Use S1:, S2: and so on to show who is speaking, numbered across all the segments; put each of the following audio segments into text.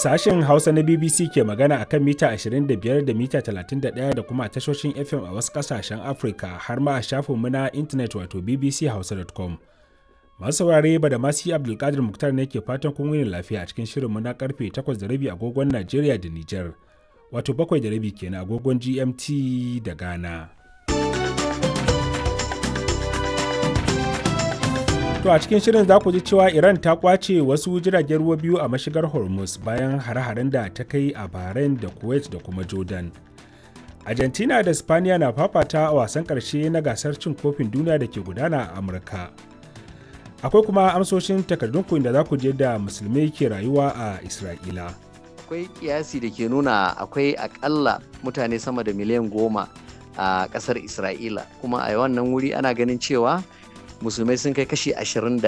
S1: Sashen Hausa na BBC ke magana a kan mita 25 da mita 31 da kuma tashoshin FM a wasu ƙasashen Afirka har ma a shafinmu na intanet wato bbchausa.com. Masu saurare ba da masu Abdulkadir Muktar ne ke fatan kun wuni lafiya a cikin shirinmu na karfe 8:30 agogon Najeriya da Nijar, wato 7:30 kenan agogon GMT da Ghana. To a cikin shirin za ku ji cewa Iran ta kwace wasu jiragen ruwa biyu a mashigar Hormuz bayan hare-haren da ta kai a Bahrain da Kuwait da kuma Jordan. Argentina da Spaniya na fafata a wasan ƙarshe na gasar cin kofin duniya da ke gudana a Amurka. Akwai kuma amsoshin takardunku inda za ku je da musulmai ke rayuwa a Isra'ila.
S2: Akwai kiyasi da ke nuna akwai akalla mutane sama da miliyan 10 a ƙasar Isra'ila, kuma a wannan wuri ana ganin cewa musulmai sun kai kashi 21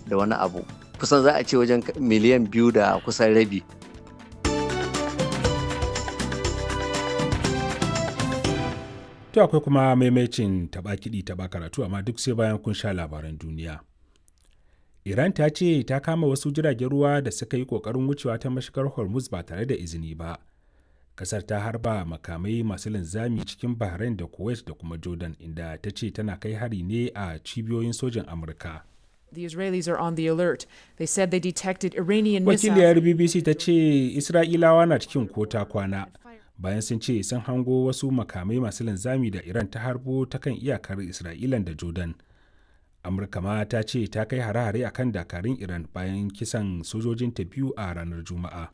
S2: da wani abu, kusan za a ce wajen miliyan 2 da kusan rabi.
S1: To akwai kuma maimacin taɓa kiɗi taɓa karatu, amma duk sai bayan kun sha labaran duniya. Iran ta ce ta kama wasu jiragen ruwa da suka yi ƙoƙarin wucewa ta mashigar Hormuz ba tare da izini ba. Kasar ta harba makamai masu linzami cikin Bahrain da Kuwait da kuma Jordan, inda ta ce tana kai hari ne a cibiyoyin sojin Amurka.
S3: The Israelis are on the alert. They said they detected Iranian missiles.
S1: Wakiliyar BBC ta ce Isra'ilawa na cikin kota kwana bayan sun ce sun hango wasu makamai masu linzami da Iran ta harbo ta kan iyakar Isra'ilan da Jordan. Amurka ma ta ce ta kai hare-hare akan dakarun Iran bayan kisan sojojinta biyu a ranar Juma'a.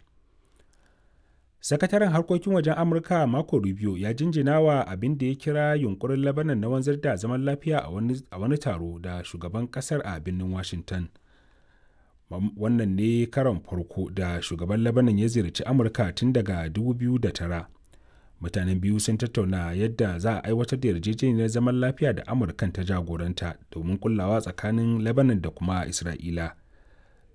S1: Sakataren harkokin wajen Amurka Marco Rubio ya jinjina wa abin da ya kira yunkurin Lebanon na wanzar da zaman lafiya a wani taro da shugaban kasar a birnin Washington. Wannan ne karon farko da shugaban Lebanon ya ziyarci Amurka tun daga 2009. Mutanen biyu sun tattauna yadda za a aiwatar da yarjejeniyar zaman lafiya da Amurkan ta jagoranta domin kullawa tsakanin Lebanon da kuma Isra'ila.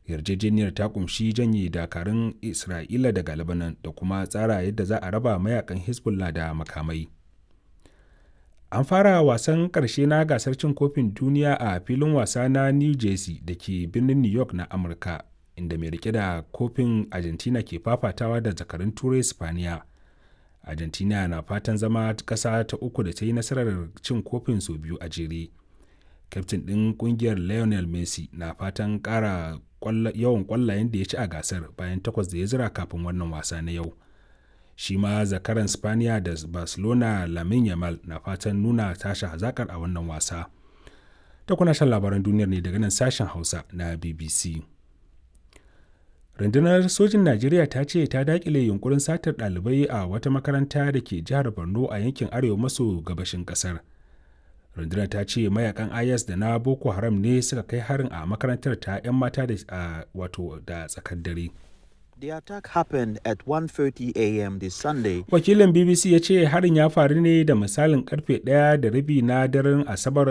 S1: Yarjejeniyar ta kumshi janye dakarun Isra'ila daga Lebanon da kuma tsara yadda za a raba mayakan Hezbollah da makamai. An fara wasan ƙarshe na gasar cin kofin duniya a filin wasa na New Jersey da ke birnin New York na Amurka, inda mai rike da kofin Argentina ke fafatawa da zakarun Turai Spaniya. Argentina na fatan zama ƙasa ta uku da ta yi nasarar cin kofin sau biyu a jere. Kyaftin ɗin ƙungiyar Lionel Messi na fatan ƙara yawan kwallayen da ya ci a gasar bayan takwas da ya zira kafin wannan wasa na yau. Shi ma zakaran Spaniya da Barcelona Lamin Yamal na fatan nuna tashi hazakar a wannan wasa. Ta kuna shan labaran duniyar ne daga nan sashen Hausa na BBC. Rundunar sojin Najeriya ta ce ta dakile yunkurin satar ɗalibai a wata makaranta da ke jihar Borno a yankin arewa maso gabashin ƙasar. Rundunar ta ce mayakan IS da na Boko Haram ne suka kai harin a makarantar ta 'yan mata da wato da tsakar dare.
S4: The attack happened at 1:30 a.m. this Sunday.
S1: Wakilin BBC ya ce harin ya faru ne da misalin karfe 1:30 na daren Asabar.